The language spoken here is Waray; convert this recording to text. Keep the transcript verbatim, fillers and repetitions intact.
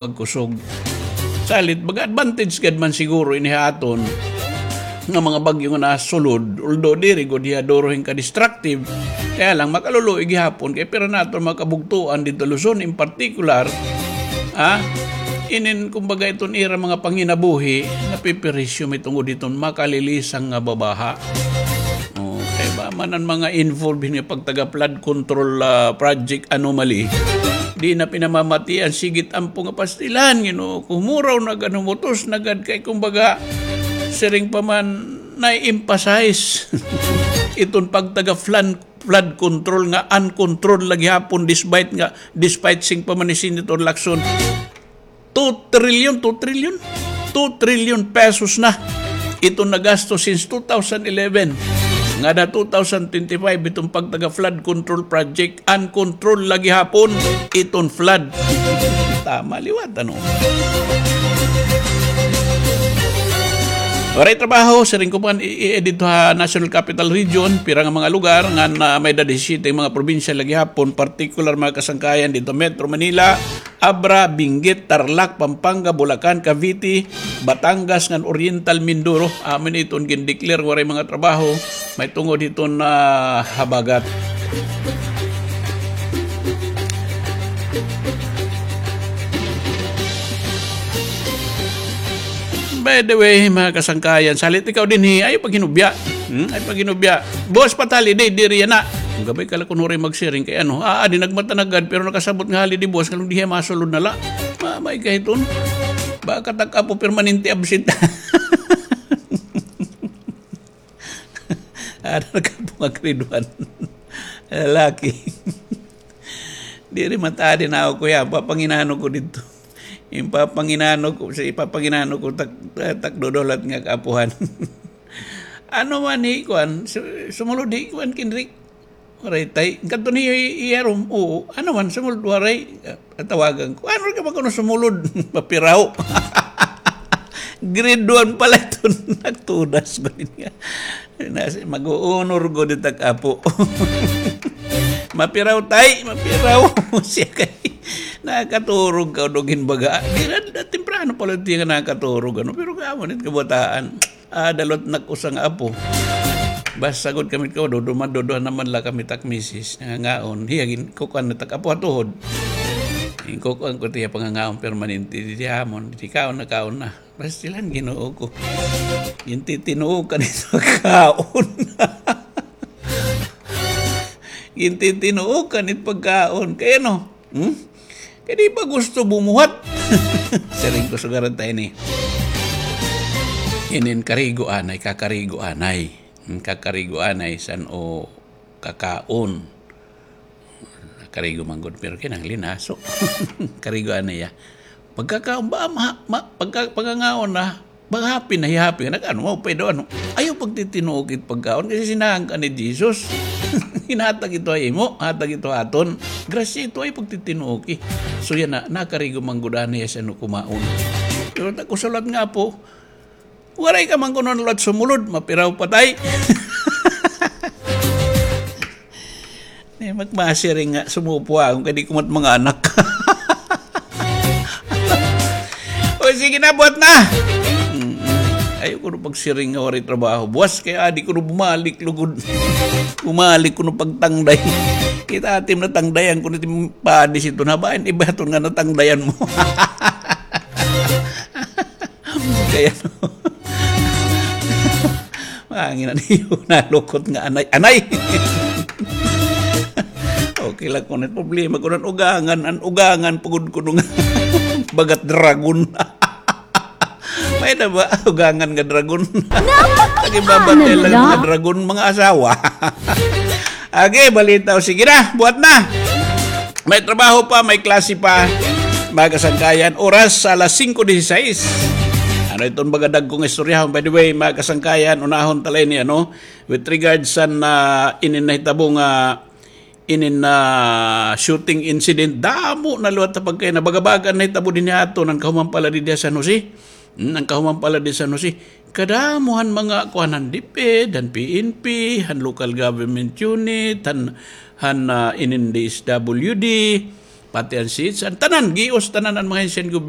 magkusog. Salit, baga advantage gad man siguro ini ha aton nga mga bagyo nga nasulod, although diri gud hiya duro hin ka-destructive, kaya lang makaluluoy gihapon kay pira na aton mga kabugtoan didto Luzon in particular, ha? Inin, kumbaga, iton ira mga panginabuhi, napiperisyo mahitungod hiton makalilisang nga babaha. Oh, kay ba man an mga involved hin nga pagtaga flood control, ah, project anomaly, di na pinamamatian, sigit ampo nga pastilan, Ginoo ko, humuraw na gad, humutos na gad kay, kumbaga, siring pa man, na-emphasize iton pagtaga flood, flood control nga uncontrolled la gihapon despite nga, despite siring pa man ni Senator Lacson, two trillion, two trillion, two trillion pesos na iton nagasto since two thousand eleven. Ngada two thousand twenty-five, iton pagtaga flood control project, uncontrolled la gihapon iton flood. Tama liwat, ano? Waray trabaho, siring ko pa, i-, i-, didto ha National Capital Region, pira nga mga lugar, ngan may-ada disisyete mga probinsya la gihapon, partikular mga kasangkayan didto Metro Manila, Abra, Benguet, Tarlac, Pampanga, Bulacan, Cavite, Batangas, ngan Oriental Mindoro. Amo ini iton gin-declare waray mga trabaho, mahitungod hiton, ah, habagat. By the way, mga kasangkayan, salit ikaw dinhi, ayaw paghinubya. Hmm? Ayaw paghinubya. Buwas pa it holiday, diri yana. An gabay ka la kuno ray magsiring kay ano, ah, di nagmata na gad, pero nakasabot nga holiday buwas, ngan di hiya masulod na la. Ma-, may kahiton. Baka it ak apo permanente absent. Ada na ka po nga grade one. Lalaki. Diri matadi na ako, kuya. Papanginano ko didto. Ipapanginano ko, sa ipapanginano ko, tak-, tak-, dudulat nga kaapuhan. Ano man hi kuan, su-, sumulod hi kuan, Kendrick? Waray tay. Kadto niyo i-, iya room. Oo. Ano man, sumulod, waray. Ah, tawagan ko. Ano ka ba kuno sumulod? Mapiraw. Grade one pa la iton. Nagtudas ko din nga. Nasi, mag-uunor ko din tak apo. Mapiraw, tay. Mapiraw. Siya kay, nakaturog ka, dugin baga. Di na, temprano pa la iton nga nakaturog, ano. Pero kamo nit kabataan. Ah, dalot nak usa nga apo. Basta gud kami ko, duduma-, duduha naman la kami tak misis, nangangaon. Hiya, gin-, kukuan na tak apo ha tuhod. Ginkukuan ko tiya pangangaon permanente, di amon, di kaon na, kaon na. Basta sila, Ginoo ko. Gintitinuokan ito kaon. Gintitinuokan it pagkaon. Kay ano? Hmm? Kay di ba gusto bumuhat? Siring ko, sugaran ta ini. Inin karigo anay, kakarigo anay. Hmm, kakarigo anay, san-o kakaon. Karigo man gud, pero kinahanglan linaso. Karigo anay, ah. Pagkakaon ba, ma-, ma-, pagka-, pagkangaon na, Ba, happy na, happy na. Nag-ano, mao-pay daw, ano. Ayaw pagtitinuoki it pagkaon, kay sinahan ka ni Jesus. Ginhatag ito ha imo, hatag ito ha aton. Grasya ito, ayaw pagtitinuoki. So, yana, nakarigo man gud anay siya no kumaon. Pero tak usa liwat nga apo, waray ka man kuno liwat sumulod, mapiraw pa tay. Ni magmasiring nga, sumupo ako, kay di ko mat mga anak. O, sige na, buhat na. Mm-mm. Ayaw kuno pagsiring nga waray trabaho. Buwas kay adi kuno bumalik lugod. Bumalik kuno pagtangday. Kita atim na tangdayan kuno tim padis ito. Nabain, iba ito nga natangdayan mo. Kaya, no? Mangin na niyo, nalukot nga anay. Anay! Okay lang kuno it problema kuno an ugangan, an ugangan pugod kuno nga bagat dragon. May na ba ugangan nga dragon? Lagi ba ba nga dragon, mga asawa? Agi, balita o sige na, buhat na. May trabaho pa, may klase pa. Mga kasangkayan, oras alas singko dieciséis. Ano iton baga dagko nga istoryahon? By the way, mga kasangkayan, unahon ta la ini, ano, with regards sa, ah, inin nahitabo nga, inin na shooting incident, damo na liwat ta pagkay na baga-baga nahitabo dinhi aton, an kahuman pa la didi ha San Jose. Hmm, an kahuman pa la didi ha San Jose. Kadamo han mga kuan han DepEd, han PNP, han local government unit, han, han, ah, inin DSWD, pati an seeds, an tanan, gius tanan an mga ahensya han gobyerno.